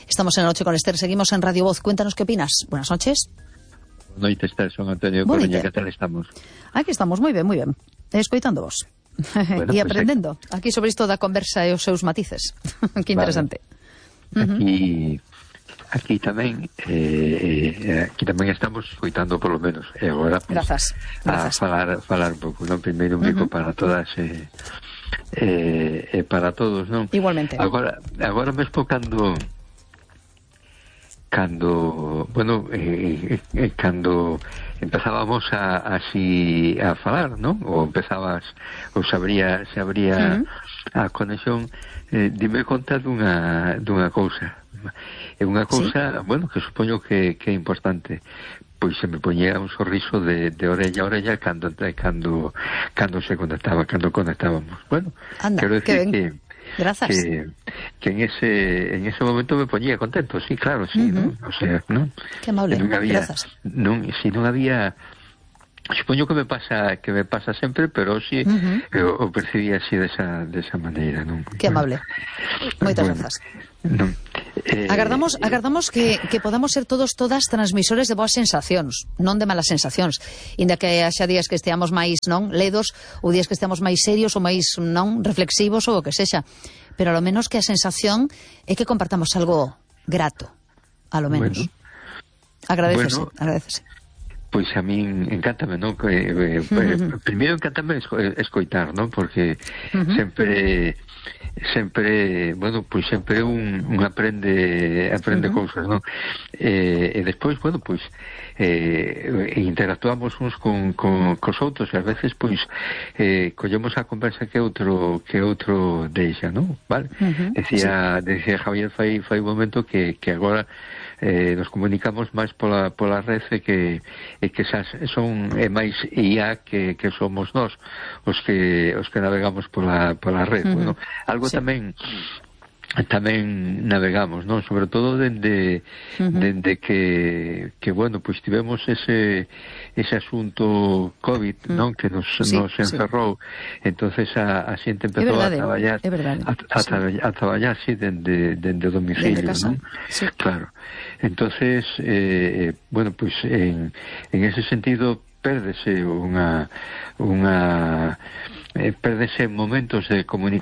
Estamos en La Noche con Esther, seguimos en Radio Voz. Cuéntanos qué opinas. Buenas noches. Boa noite, Esther, son Antonio Coruña, que tal estamos? Aquí estamos, moi ben, escoitando vos. Bueno, e aprendendo aquí sobre isto da conversa e os seus matices. Que interesante. Aquí tamén estamos escoitando por lo menos. E agora pues, grazas. A falar un pouco, non? Primeiro un bico para todas para todos, non? Igualmente. Agora mesmo cando empezábamos así a falar, ¿no? Ou se abría a conexión, dime conta dunha cousa. É unha cousa, ¿sí? Bueno, que supoño que é importante. Pois se me poñía un sorriso de orella a orella cando se conectaba, cando conectábamos. Bueno, anda, quero decir que grazas. Que en ese momento me ponía contento, sí, claro, sí, ¿no? O sea, ¿no? Qué amable, grazas. Si non había, supoño que me pasa sempre, pero sí, o percibía así desa maneira, non? Que amable. Moitas grazas. Non. Agardamos que podamos ser todas transmisores de boas sensacións, non de malas sensacións, inda que haxa días que esteamos máis ledos, ou días que esteamos máis serios ou máis reflexivos ou o que sexa, pero ao menos que a sensación é que compartamos algo grato, a lo menos. Agradecese. Pois a min encántame, non? Primeiro encántame escoitar, non? Porque sempre, bueno, pois sempre un aprende cousas, non? E despois, bueno, pois interactuamos uns cos outros e ás veces, pois collemos a conversa que outro deixa, non? Vale? Decía Javier fai un momento que agora nos comunicamos máis pola rede que son máis IA que somos nós os que navegamos pola rede. Bueno, algo tamén navegamos, non? Sobre todo dende que bueno, pois tivemos ese asunto COVID, non? Que nos encerrou. Entonces a xente empezou a traballar así dende o domicilio, non? Sí. Claro. Entonces bueno, pois en ese sentido pérdese pérdese momentos de comunicación